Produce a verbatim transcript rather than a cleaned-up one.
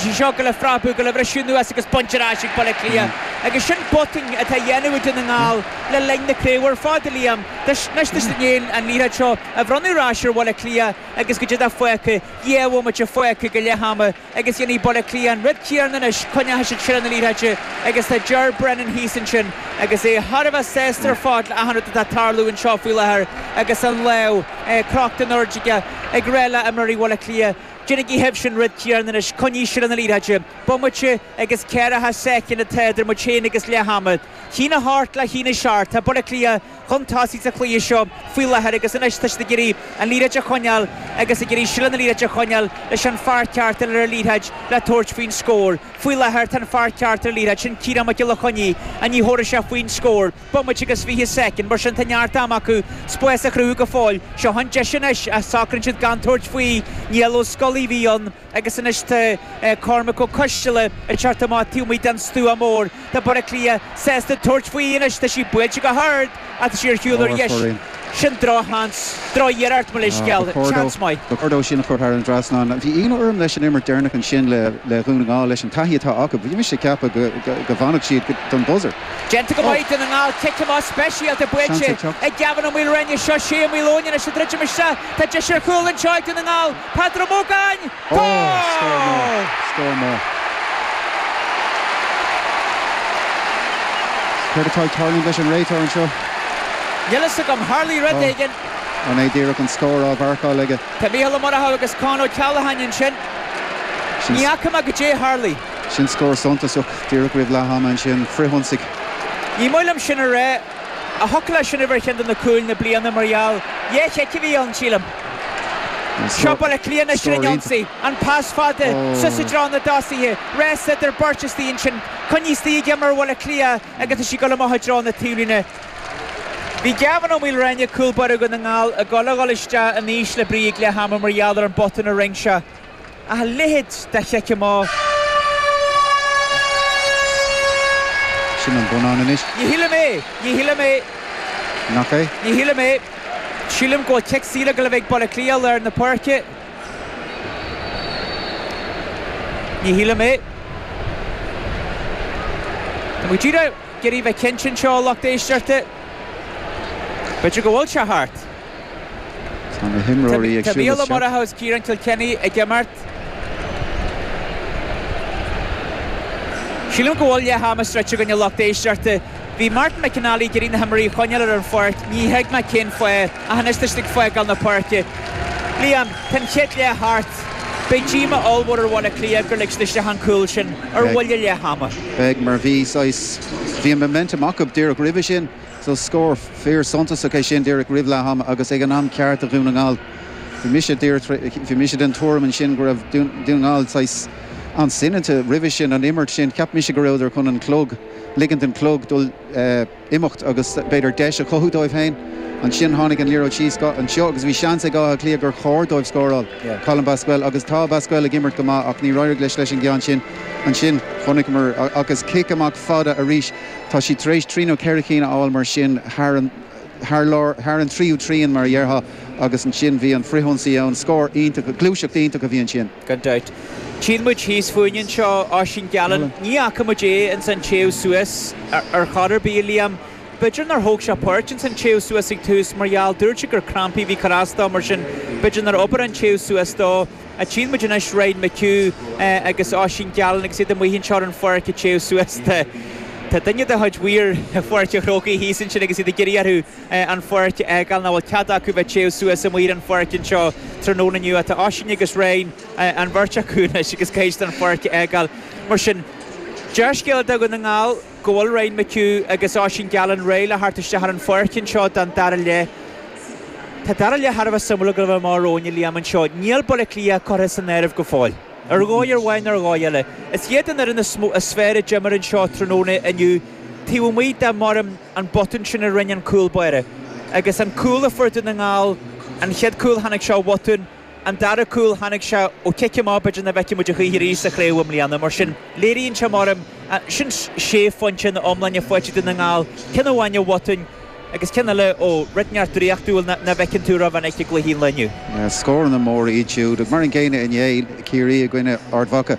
Tá sí seo ag goil a phreabadh, ag goil a bhriseadh anuas agus bainte ar ais ag Baile Átha Cliath. Agus sin botún atá á dhéanamh ag Dún na nGall le linn na craoibhe ar fad, a Liam. Anois tá siad i ndiaidh an liathróid seo a bhronnadh ar ais ar Bhaile Átha Cliath agus goidé atá fágtha, dhá bhomaite fágtha go leath ama agus dhéanfaidh Baile Átha Cliath an rud céanna anois, coinneoidh siad seilbh na liathróide agus tá Ger Brennan thíos ansin agus é thar a bheith sásta ar fad le achan rud atá ag tarlú anseo faoi láthair agus an lámh crochta in airde aige ag rá le imreoirí Bhaile Átha Cliath, Déanaigí sibhse an rud céanna anois, coinnigh seilbh na liathróide. Bomaite agus ceathracha soicind atá idir muid féin agus leath ama. Haon a hocht le haon a seacht, tá Baile Átha Cliath chun tosaigh sa chluiche seo faoi láthair agus anois tá siad ag iarraidh an liathróid a choinneáil agus ag iarraidh seilbh na liathróide a choinneáil leis an fear ceart ar an liathróid le tabhairt faoin scór. Faoi láthair tá an fear ceart ar an liathróid, sin Ciarán Mac Giolla Chainnigh, ach ní thabharfaidh sé faoin scór. Bomaite agus fiche soicind, mar sin tá neart ama acu spás a chruthú go fóill. Seo an deis anois ach socraíonn siad gan tabhairt faoi. Niall Ó Scolaí a bhí ann agus anois tá Cormac Ó Coisteala ag teacht amach taobh amuigh den stua mór. Tá Baile Átha Cliath sásta tabhairt faoi anois. Tá sí buailte go hard ach tá sí ar shiúl ar dheis. Sin drochsheans, drochiarracht mo leithscéal. Seans maith. Ba chóir dó sin a chur thar an dtrasnán. Bhí ionadh orm leis an imirt deireanach ansin le Dhún na nGall, leis an taithí atá acu. Bhí mise ag ceapadh go bhfanfadh siad don buzzer. Déanta go maith Dún na nGall, cic amach speisialta buailte ag Gavin Ó Maoilreáine. Seo Shea Ó Maoileoin anois ag druidim isteach. Tá deis ar chúl anseo ag Dún na nGall. Peadar Ó Mógáin! Ó, scór mór! Scór mór! Céard atá ag tarlúint leis an réiteoir anseo? Níl fhios agam. Tharlaigh rud éigin. An é díreach an scór á mharcáil aige? Tá Mícheál Ó Murchú agus Con Ó Ceallacháin ansin. Ní fhaca mé goidé a tharlaigh. Sin scór suntasach díreach roimh leath ama ansin. Frithionsaigh. Ní maith liom sin a rá. Ach thiocfadh leis sin a bheith ar cheann de na cúil na bliana mar gheall dhá chic a bhí ann, sílim. Seo Baile Átha Cliath anois ar an ionsaí. An pas fada suas i dtreo na dtosaithe. Rás idir beirt istigh ansin. Coinnithe istigh ag imreoir Bhaile Átha Cliath agus tá sí ag dul amach i dtreo na taobhlíne. Bhí Gavin Ó Maoilreáine, cúl báire Dhún na nGall, ag dul a dhul isteach in ísle brí ag leath ama mar gheall ar an botún a rinne sé. Ach a leithéid de chic amach. Sin an bonnán anois. Ní shílim é! Ní shílim é! Nach é? Ní shílim é. Sílim go bhfuil cic saor ag dul a bheith ag Baile Átha Cliath i lár na páirce. Ní shílim é. Tá muid díreach ag iarraidh bheith cinnte anseo, a lucht éisteachta. B'fhéidir go bhfuil sé thart. Tá na himreoirí ag Tá siúl Mícheál Ó isteach. Murchú agus Ciarán Kilkenny ag imeacht. Sílim go bhfuil leath ama sroichte againn a lucht éisteachta. Bhí Martin McInally ag iarraidh na himreoirí a choinneáil ar an pháirc. Ní thuig mé cén fáth, ach anois tá siad ag fágáil na páirce. Liam, tá an chéad leath thart. Beidh díomá ollmhór ar Bhaile Átha Cliath gur lig siad isteach an cúl sin ar bhuille leath ama. Beidh, mar bhí saghas, bhí an momentum acu díreach roimhe sin. So scór fíor suntasach é sin díreach roimh leath ama agus ag an am ceart do Dhún na nGall. Bhí mise díreach, bhí mise den tuairim ansin go raibh Dún na nGall saghas an-soineanta roimhe sin, an imirt sin. Cheap mise go rabhadar chun an clog, ligint don chlog dul imeacht agus b'fhéidir deis a chothú dóibh féin. Ansin tháinig an liathróid síos anseo agus bhí seans ag Áth Cliath gur chóir dóibh scóráil. Colm Basquel agus tá Basquel ag imirt go maith ach níor éirigh leis leis an gceann sin. Ansin chonaiceamar agus cic amach fada arís. Tá siad tar éis trí nó ceithre cinn a fháil mar sin thar an thar lár thar an tríú trian mar a dhéarfá agus ansin bhí an frithionsaí ann. Scór iontach, gluaiseacht iontach a bhí ansin. Gan dabht. Tchíonn muid thíos fúinn anseo Oisín Gallen. Ní fhaca muid é ins an téamh suas ar chor ar bith, a Liam. B'fhéidir nár thóg sé páirt ins an téamh suas ag tús mar gheall dúirt sé gur crampaí a bhí ag cur as dó mar sin b'fhéidir nár obair an téamh suas dó. Ach tchíonn muid anois Ryan McHugh agus Oisín Gallen agus iad amuigh anseo ar an pháirc ag téamh suas. Tá duine de chuid mhaoir Pháirc an Chrócaigh thíos ansin agus iad ag iarraidh orthu an pháirc a fhágáil nach bhfuil cead acu bheith ag téamh suas amuigh ar an pháirc anseo tráthnóna inniu. Tá Oisín agus Ryan, an bheirt acu anois agus caithfidh siad an pháirc a fhágáil. Mar sin, dea-scéala do Dhún na nGall go bhfuil Ryan McHugh agus Oisín Gallen réidh le theacht isteach ar an pháirc anseo don dara leath. Tá dara leath thar a bheith suimiúil ag dul a bheith amach romhainn, a Liam, anseo. Níl Baile Átha Cliath curtha san áireamh go fóill. Ar dhóigh amháin nó ar dhóigh eile. Is iad an fhoireann is mó, is fearr a d'imir anseo tráthnóna inniu, taobh amuigh de, maram, an botún sin a rinne an cúl báire. Agus an cúl a fuair Dún na nGall, an chéad cúl tháinig sé ó bhotún, an dara cúl tháinig sé ó chic amach b'fhéidir nach bhfeicfidh muid a choíche arís sa chraobh i mbliana. Mar sin, léiríonn sé, maram, sin sé phointe ina iomláine faighte ag Dún na nGall, ceann amháin ó bhotún, Agus ceann eile ó rud inteacht draíochtúil nach bhfeiceann tú rómhinic i gcluichí an lae inniu. Scóranna móra iad siúd. Mar an gcéanna inné, Ciarraí i gcoinne Ard Mhacha.